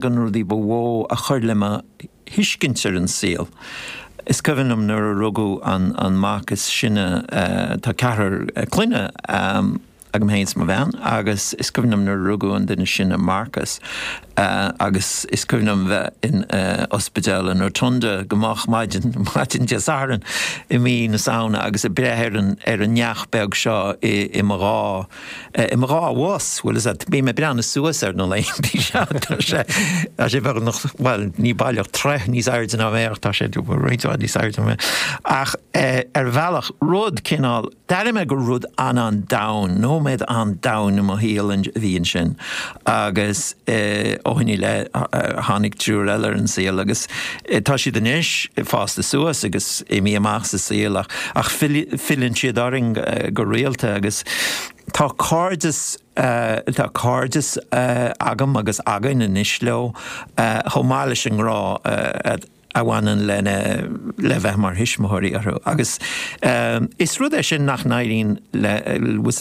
De na rudaí ba mhó a chuir le mo thuiscint ar an saol. Is cuimhin liom nuair a rugadh an mac is sine, tá ceathrar clainne agam féin is mo bhean, agus is cuimhin liom nuair a rugadh an duine is sine, Marcus, agus is cuimhin liom bheith in ospidéal an Rotunda go moch maidin, maidin Dé Sathairn i mí na Samhna agus ag breith ar an ar an neach beag seo i mo dhá I mo dhá bhos, bhfuil fhios a't, bím ag breathnú suas air na laethanta seo, tá sé, tá sé beagnach, bhuel, ní baileach troith níos airde ná mé ach tá sé roinnt mhaith níos airde ná mé. Ach ar bhealach, rud cineál, d'airigh mé gur rud an-an-domhain, nóiméad an-domhain i mo shaol a bhí ansin agus ó shin i leith tháinig triúr eile ar an saol agus tá siad anois fásta suas agus imithe amach sa saol ach, ach filleann siad orainn go rialta agus tá cairdeas, tá cairdeas agam agus againn anois leo chomh maith leis an ngrá a bhaineann lena, le bheith mar thuismitheoirí orthu agus is rud é sin nach n-éiríonn le,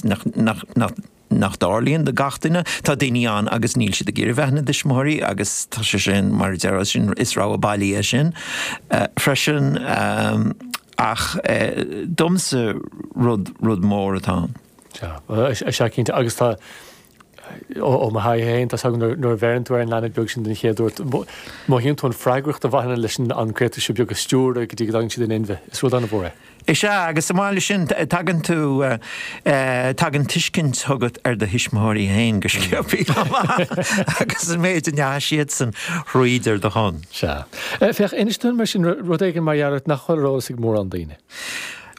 nach, nach, nach, nach dtarlaíonn do gach duine. Tá daoine ann agus níl siad ag iarraidh bheith ina dtuismitheoirí agus tá sé sin, mar a déarfá, sin, is rogha bailí é sin freisin. Ach domsa rud, rud mór atá ann. Sea, is ea cinnte. Agus tá, ó mo thaithí féin, tá 's agam nuair a bheireann tú ar an leanbh beag sin den chéad uair, mothaíonn tú an freagracht a bhaineann leis an gcréatúr seo beag a stiúradh go dtí go dtagann siad in inmhe. Is rud an-mhór é. Is ea, agus chomh maith leis sin, tagann tú, tagann tuiscint chugat ar do thuismitheoirí féin go sciobtha chomh maith agus an méid a ndeachaigh siadsan thríd ar do shon. Sea. Féach, inis dúinn mar sin rud éigin mar gheall ort nach bhfuil ar eolas ag mórán daoine.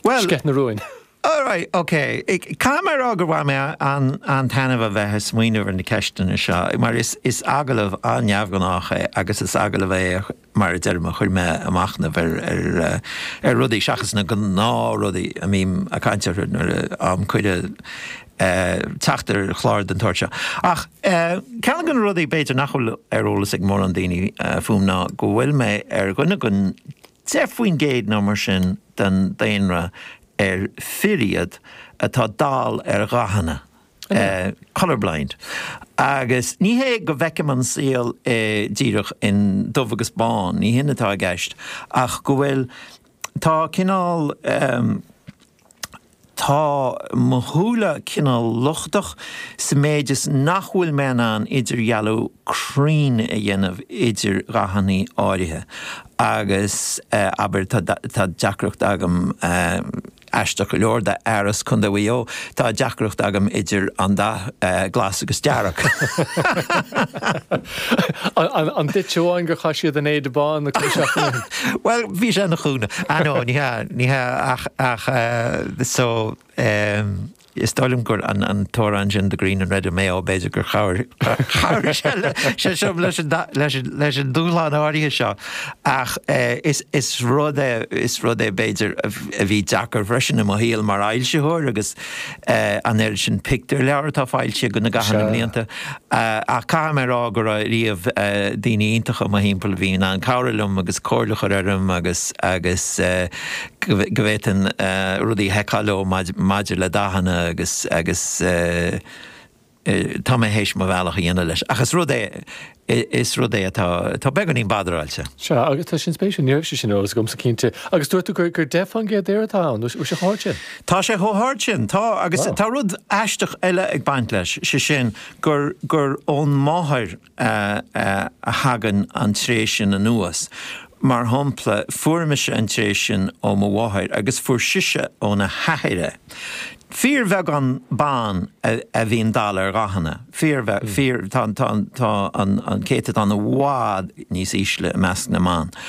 Bhuel. Sceith na rúin. Alright, ok. Caithfidh mé a rá gur bhain mé an-taitneamh a bheith ag smaoineamh ar na ceisteanna seo, mar is agallamh an-neamhghnách é agus is agallamh é a mar a deirim, a chuir mé ag machnamh ar rudaí seachas na gnáthrudaí a mbím ag caint orthu nuair a fhaighim cuireadh teacht ar chlár den tsórt seo. Ach ceann de na rudaí b'fhéidir nach bhfuil ar eolas ag mórán daoine fúm ná go bhfuil mé ar dhuine den 10% nó mar sin den daonra ar fir iad atá dall ar dhathanna. colour blind. Agus ní hé go bhfeicim an saol díreach in dubh agus bán, ní hin atá i gceist, ach go bhfuil, tá cineál, tá mo shúile cineál lochtach sa méid is nach bhfuil mé in ann idirdhealú cruinn a dhéanamh idir dhathanna áirithe. Agus abair, tá deacracht agam, Aisteach go leor, d'fhear as Contae Mhaigh Eo, tá deacracht agam idir an dath glas agus dearg. An duit amháin gur chaith siad an éide bán na cúpla seachtain ó shin? Bhuel, bhí sé ina chúnamh. Ah no, ní hea, ní hea ach, ach so, Is dóigh liom gur an t-amhrán sin The Green and Red of Mayo b'fhéidir gur chabhair sé seo leis an dúshlán áirithe seo ach is rud é is rud é b'fhéidir a bhí deacair freisin i mo shaol mar fhoilsitheoir agus an oiread sin pictiúrleabhar atá foilsithe agam i gcaitheamh na mblianta ach caithfidh mé a rá go raibh riamh daoine iontacha i mo thimpeall a bhí in ann cabhrú liom agus comhairle a chur orm agus agus go bhféadfainn rudaí a sheiceáil leo maidir le dathanna agus agus tá mé théis mo bhealach a dhéanamh leis. Ach is rud é, is rud é atá, atá beagáinín badaráilte. Sea, agus tá sin spéisiúil, ní raibh sé sin ar eolas agamsa cinnte. Agus dúirt tú gur 10% d'fhir atá ann, bhfuil sé chomh hard sin? Tá sé chomh hard sin, tá, agus tá rud aisteach eile ag baint leis, sé sin gur, gur ón máthair, a thagann an tréith sin anuas. Mar shampla, fuair mise an tréith sin ó mo mháthair agus fuair sise óna hathair é. Fíorbheagán ban a bhíonn dall ar dhathanna. Fíor, fíor, tá, tá, tá an céatadán i bhfad níos ísle i measc na mban.